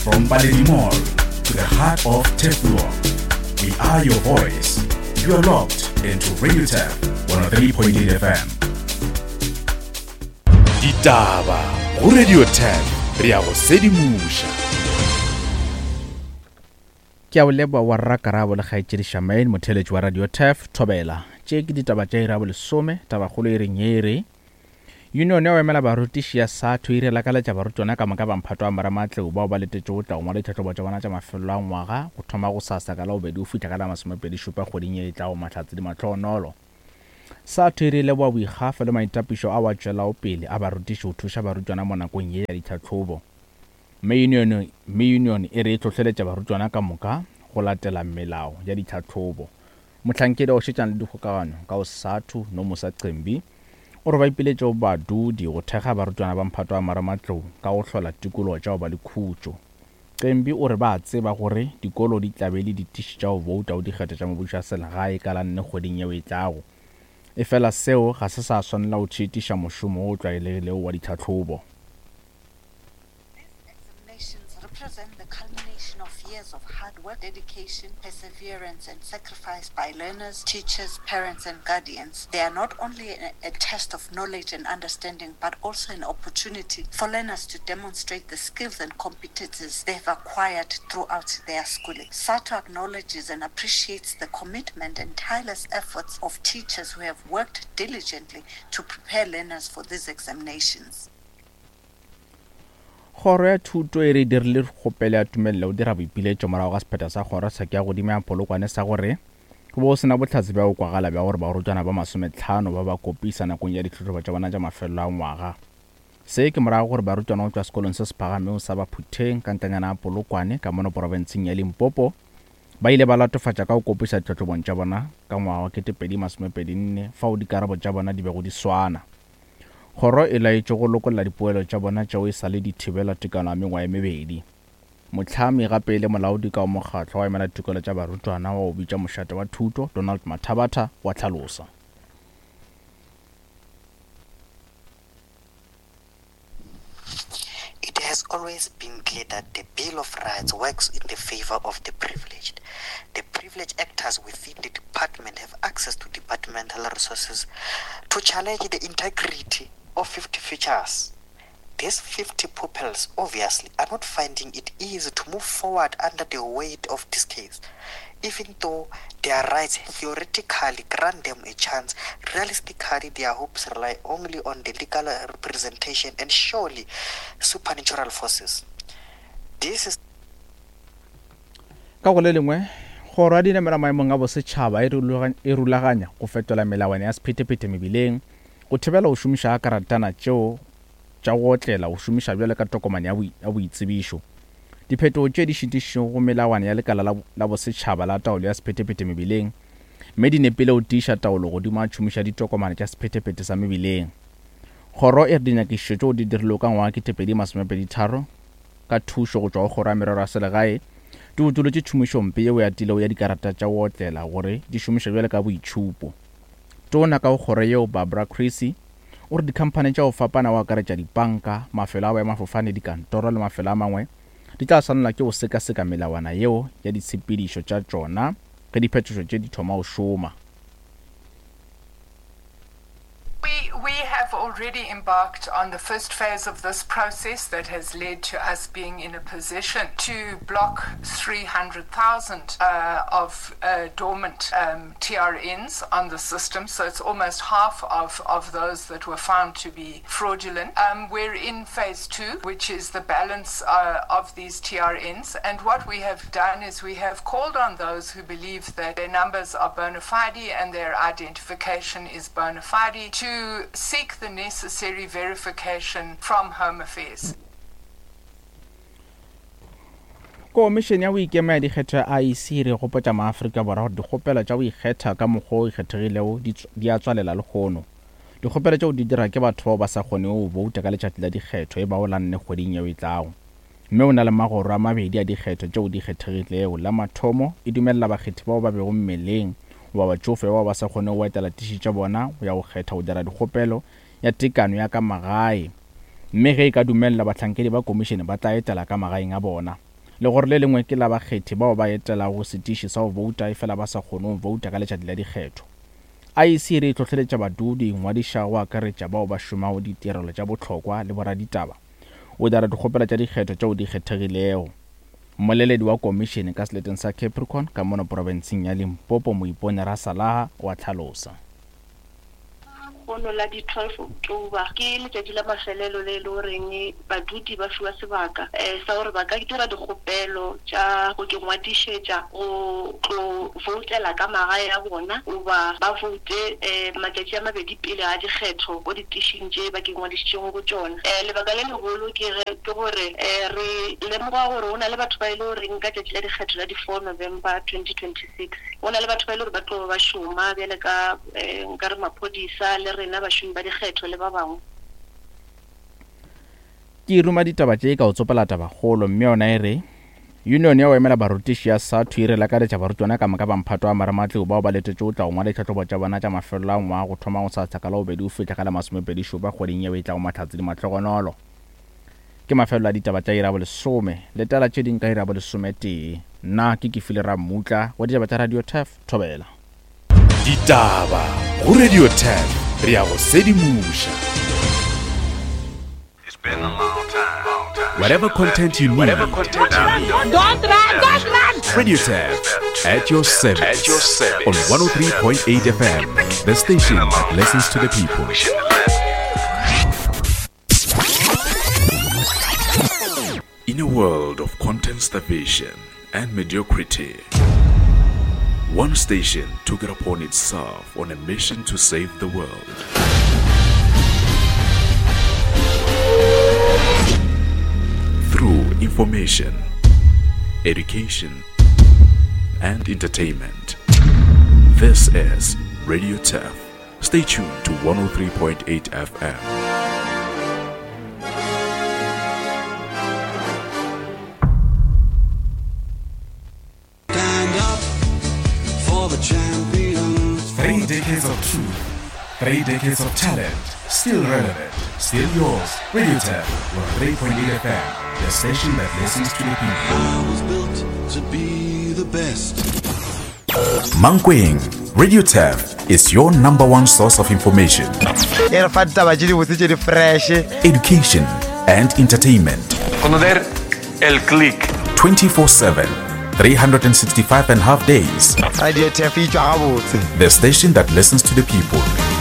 From Paledi Mall to the heart of Turfloop, we are your voice. You are locked into Radio Turf 103.8 FM. Ditaba go Radio Turf re ya go sedimoša. Ke a o leboa wa rra Karabo le kgaetšedi Charmaine, motheeletši wa Radio Turf, Thobela. Tše ke ditaba tša iri ya bolesome, tabakgolo e reng ye e re, Yunione ya go emela barutiši ya SATU e re lakaletša barutwana ka moka ba mphato wa marematlou bao ba letetšego go tla go ngwala ditlhahlobo tša bona tša mafelelo a ngwaga go thoma gosasa ka Labobedi go fihla ka la masomepedi-šupa kgweding ye e tlago Mahlatse di mahlohonolo. SATU e re e leboga boikgafo le maitapišo ao a tšwelago pele a barutiši go thuša barutwana mo nakong ye ya ditlhahlobo. Mme yunione mme yunione e re e hlohleletša barutwana ka moka go latela melao ya ditlhahlobo. Mohlankedi wa go šetšana le dikgokagano ka go SATU, Nomusa Cembi, o re ba ipiletše go badudi go thekga barutwana ba mphato wa marematlou ka go hlola tikologo tša go ba le khutšo. Cembi o re ba a tseba gore dikolo di tla be e le ditiši tša go bouta go dikgetho tša mebušo ya selegae ka la nne kgweding yeo e tlago. Efela seo ga se sa swanela go tšhitiša mošomo wo o tlwaelegilego wa ditlhahlobo. These examinations represent the culmination of years of hard work, dedication, perseverance, and sacrifice by learners, teachers, parents, and guardians. They are not only a, a test of knowledge and understanding, but also an opportunity for learners to demonstrate the skills and competencies they have acquired throughout their schooling. SATO acknowledges and appreciates the commitment and tireless efforts of teachers who have worked diligently to prepare learners for these examinations. Kgoro ya Thuto e re e dirile kgopelo ya tumelelo go dira boipiletšo morago ga sephetho sa kgoro tsheko ya godimo ya Polokwane sa gore go be go se na bohlatse bja go kwagala bja gore barutwana ba masometlhano ba ba kopisa nakong ya ditlhahlobo tša bona tša mafelelo a ngwaga. Se ke morago gore barutwana go tšwa sekolong se se phagamego sa Baphutheng ka ntlanyana ya Polokwane ka mono porofenseng ya Limpopo ba ile ba latofatša ka go kopisa ditlhahlobong tša bona ka ngwaga wa 2024 fao dikarabo tša bona di bego di swana. Kgoro e laetšwe go lokolla dipoelo tša bona tšeo e sa le di thibelwa tekano ya mengwaga e mebedi. Mohlami gape e le molaodi ka go mokgatlo wa emela ditokelo tša barutwana wa go bitšwa Mošate wa Thuto, Donald Mathabatha, wa hlalosa. It has always been clear that the Bill of Rights works in the favor of the privileged. The privileged actors within the department have access to departmental resources to challenge the integrity of 50 features. These 50 pupils obviously are not finding it easy to move forward under the weight of this case. Even though their rights theoretically grant them a chance, realistically their hopes rely only on the legal representation and surely supernatural forces. This is Ka go le lengwe, Kgoro ya Dinamelwa Maemong a Bosetšhaba e e rulaganya go fetola melawana ya sephethephethe mebileng go thibela go šomiša ga karatana tšeo tša go otlela go šomiša bjalo ka tokomane ya boitsebišo. Diphetogo tše di šitišitšego go melawana ya lekala la, la bosetšhaba la taolo ya sephethephethe mebileng mme di nepile go tiiša taolo godimo ga tšhomišo ya ditokomane tša sephethephethe sa mebileng. Kgoro e re dinyakišišo tšeo di dirilwego ka ngwaga 2023 ka thušo go tšwa go Kgoro ya Merero ya Selegae di utolotše tšhomišompe yeo e atilego ya dikarata tša go otlela gore di šomišwe bjalo ka boitšhupo. Tona ka go kgoro yeo Barbara Creecy o re dikhamphani tša go fapana go akaretša dipanka, mafelo a boemafofane, dikantoro le mafelo a mangwe di tla swanelwa ke go sekaseka melawana yeo ya ditshepedišo tša tšona ge diphetošo tše di thoma go šoma. We, we have already embarked on the first phase of this process that has led to us being in a position to block 300,000 uh, of uh, dormant um, TRNs on the system. So it's almost half of, of those that were found to be fraudulent. Um, we're in phase two, which is the balance uh, of these TRNs. And what we have done is we have called on those who believe that their numbers are bona fide and their identification is bona fide to seek the necessary verification from Home Affairs. Komišene ya go Ikema ya Dikgetho ya IEC e re gopotša maAfrika Borwa gore dikgopelo tša go ikgetha ka mokgwa o ikgethegilego di a tswalela lehono. Dikgopelo tšeo di dira ke batho bao ba sa kgonego go bouta ka letšatši la dikgetho e bago la nne kgweding yeo e tlago. Mme o na le magoro a mabedi a dikgetho tšeo di kgethegilego. La mathomo, e dumelela bakgethi bao ba bego mmeleng goba batšofe bao ba sa kgonego go etela tiši tša bona go ya go kgetha go dira dikgopelo ya tekano ya ka magae. Mme ge e ka dumelelwa, bahlankedi ba komišene ba tla etela ka magaeng a bona. Legoro le lengwe ke la bakgethi bao ba etelago setiši sa go bouta efela ba sa kgone go bouta ka letšatši la dikgetho. IEC e re e hlohleletša badudi go ingwadiša go akaretša bao ba šomago ditirelo tša bohlokwa le boraditaba go dira dikgopelo tša dikgetho tšeo di kgethegilego. Mmoleledi wa komišene ka seleteng sa Capricorn ka mono profenseng ya Limpopo Moipone Rasalaha o a hlalosa. Lehono la di 12 October ke letšatši la mafelelo le e le goreng badudi ba fiwa sebaka sa gore ba ka dira dikgopelo tša go ke ngwadišetša go tlo voutela ka magae a bona goba ba voute matšatši a mabedi pele ga dikgetho ko ditišing tše ba ke ngwadišitšego go tšona. Lebaka le legolo ke ge ke gore re lemoga gore go na le batho ba e le goreng ka tšatši la dikgetho la di 4 November 2026 go na le batho ba e le gore ba tlo ba ba šoma bjale ka Nka re maphodisa le rena bašomi ba dikgetho le ba bangwe. Ke ruma ditaba tše ka go tsopela tabakgolo mme yona e re, Union ya go emela barutiši ya SADTU e re lakaletša barutwana ka moka ba mphato wa marematlou bao ba letetšego go tla go ngwala ditlhahlobo tša bona tša mafelelo a ngwaga go thoma gosasa ka Labobedi go fihla ka la masomepedi-šupa kgweding yeo e tlago Mahlatse le Mahlogonolo. Ke mafelelo a ditaba tša iri ya bolesome. Letela tše ding ka iri ya bolesometee. Nna ke Kefile Rammutla wa ditaba tša Radio Turf, Thobela. Ditaba go Radio 10 re a go sedimoša. Whatever content you need. Don't run, don't run! Radio Tef at your service. At your service. On 103.8 FM, the station that listens to the people. In a world of content starvation and mediocrity, one station took it upon itself on a mission to save the world. Through information, education, and entertainment. This is Radio Turf. Stay tuned to 103.8 FM. Stand up for the champions. Three decades of truth, three decades of talent, still relevant, still yours. Radio Tap, 103.8 FM, the station that listens to the people. I was built to be the best. Mankweng, Radio Taf is your number one source of information. E re fa ditaba tše dibotse tše di fresh. Education and entertainment. Conocer el click. 24-7, 365 and half days. Radio Taf e tšwa gabotse. The station that listens to the people.